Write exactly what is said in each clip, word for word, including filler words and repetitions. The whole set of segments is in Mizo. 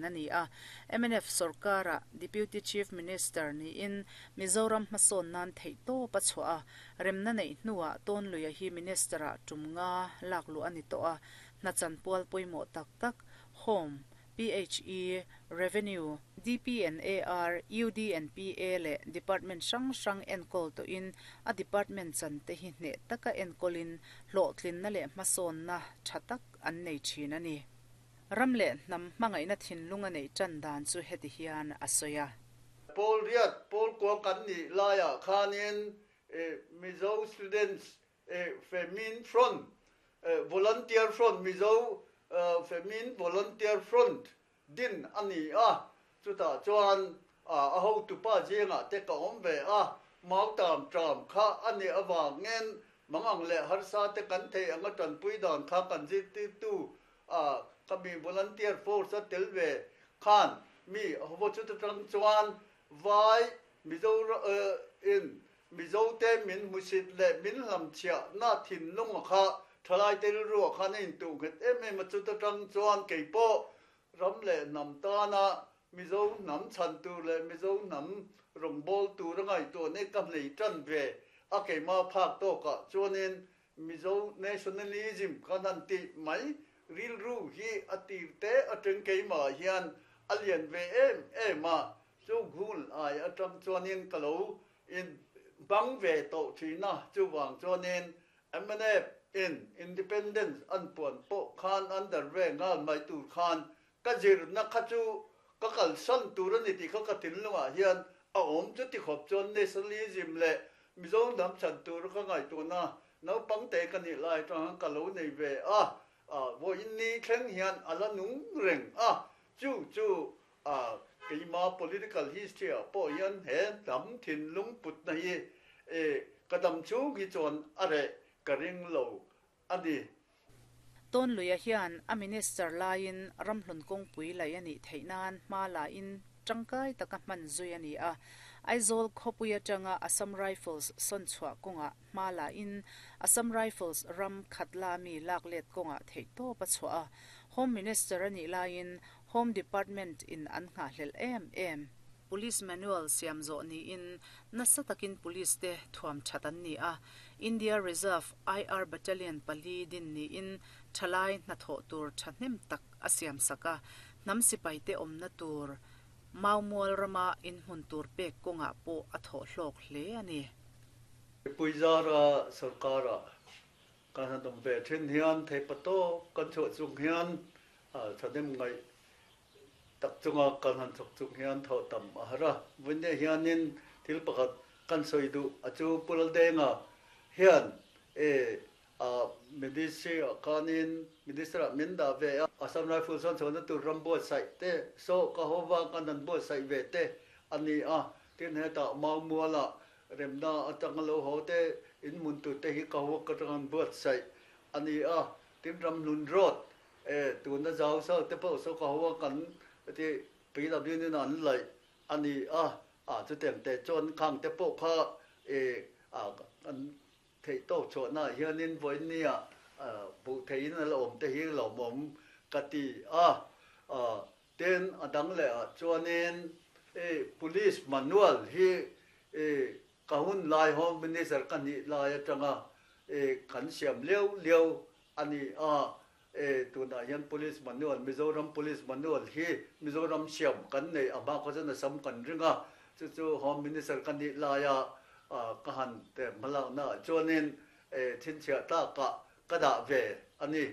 thin a ni a. M N F sorkara Deputy Chief Minister niin Mizoram hmasawn nan theihtawp a chhuah a. Remna neih hnuah Tawnluia hi Minister-ah tum nga lak luh a ni tawh a. Hna chanpual pawimawh tak tak Home, P H E, Revenue, D P and A R, U D and P A leh Department hrang hrang enkawl tawhin a department chan te hi hneh taka enkawlin hlawhtlinna leh hmasawnna tha tak an nei thin a ni. Ram leh hnam hmangaihna thinlung a neih tan dan chu heti hian a sawi a. Pawl riat pawl kua kan nih laiah khanin Mizo Students Famine Front, Volunteer Front, Mizo Famine Volunteer Front din a ni a. Chutah chuan a hotupa zingah te ka awm ve a. Mautam tram kha a nih avangin mangang leh harsa te kan thei anga tanpui dan kha kan zirtirtu a kami volunteer force a tel ve khan mi ho chu tang chuan vai Mizo in Mizo te min hmusit leh min hlamchhiah na thinlung a kha thalai te rilru khan a intuh nghet em em a. Chuta tang chuan keipawh ram leh hnam tana Mizo hnam chhan tur leh Mizo hnam rawngbâwl tur a ngaihtuah ne ka hnei tan ve a. Keima phak tawkah chuanin Mizo nationalism kan han ti mai rilru hi a tir te atang keimah hian a lian ve em em a. Chu hun ai atang chuanin ka lo in bang ve tawh thina. Chuwang chuanin M N F in independence an puan pawh khan under ve ngal mai tur khan ka zirna kha chu ka kalsan tur ani tih kha ka thinlungah hian a awm. Chu ti khawp chuan nationalism leh Mizo hnam chhan tur ka ngaihtuahna naupang te ka nih lai atang ka lo nei ve a. Vawiin ni thleng hian a la nung reng a. Chu chu a keima political history ah pawh hian he hnam thinlung putna hi e ka dam chhung hi chuan a reh ka ring lo ani. Tawnluia hian a minister laiin Ramhlun kawngpui lei anih theih nan hma la in tangkai taka hman zui ani a. Aizawl khawpui atanga Assam Rifles sawn chhuah kawngah hma la in Assam Rifles ram khatla mi lak let kawngah theihtawp a chhuah a. Home Minister anih laiin Home Department in an nghahhlelh em em Police Manual siam zawh niin nasa takin police te thuam that an ni a. India Reserve I R Battalion pali din niin thalai hnathawh tur thahnem tak a siam sak a. Hnam sipai te awmna tur Maumual rama in hmun tur pek kawngah pawh a thawh hlawk hle ani. Puizara sarkara kan han awm ve thin hian theipato kan chhuah chung hian thahnem ngai tak chunga kan han thawk chung hian thaw tam a har a. Vawiin hianin thil pakhat kan sawi duh a chu Pu Laldenga hian e a ministry ah khanin minister ah min dah ve a. Assam Rifle sawn chhuahna tur ram buatsaih te so ka hova kan han buatsaih ve te ani a. Tin, hetah Maumuala remna atanga lo haw te in hmun tur te hi ka ho ka tang buatsaih ani a. Tin, Ramhlun Road e tuna zau sa te pawh so ka ho kan ti P W in an laih ani a. A chu tem te chuan khang te pawh kha e a kan theihtawk chhuahna hianin vawiin nia buh theiin a la awm te hi lawmawm ka ti a. Tin, a dang leh ah chuanin e police manual hi e ka hun lai Home Minister ka nih lai atanga e kan siam leu leu ani a. E tunah hian police manual, Mizoram Police Manual hi Mizoram siam kan nei a ba kha chuan Assam kan ringa. Chu chu Home Minister ka nih laia ka han te hmalakna chuanin e thinchhiah tlaka ka dah ve ani.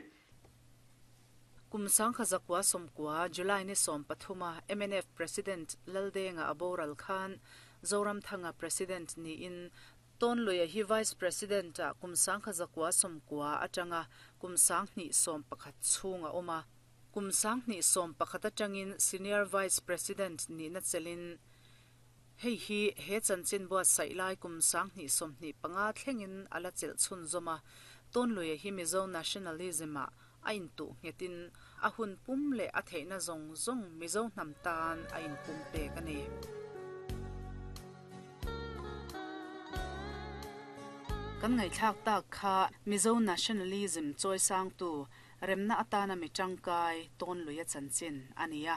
Kum sangkhat zakua sawmkua July ni sawm pathuma M N F President Laldenga a boral khan Zoramthanga President niin Tawnluia hi Vice President a kum sangkhat zakua sawmkua atanga kum sanghnih sawm pakhat chhung a awm a. Kum sanghnih sawm pakhat atangin Senior Vice President nihna chelin hei hi he chanchin buatsaih lai kum sanghnih sawmhnih panga thlengin a la chelh chhun zawm a. Tawnluia hi Mizo nationalism ah a intuh nghetin a hun pum leh a theihna zawng zawng Mizo hnam tan a inpum pek ani. Kan ngaihthlak tak kha Mizo nationalism chawisang tu remna atana mi tangkai Tawnluia chanchin ani a.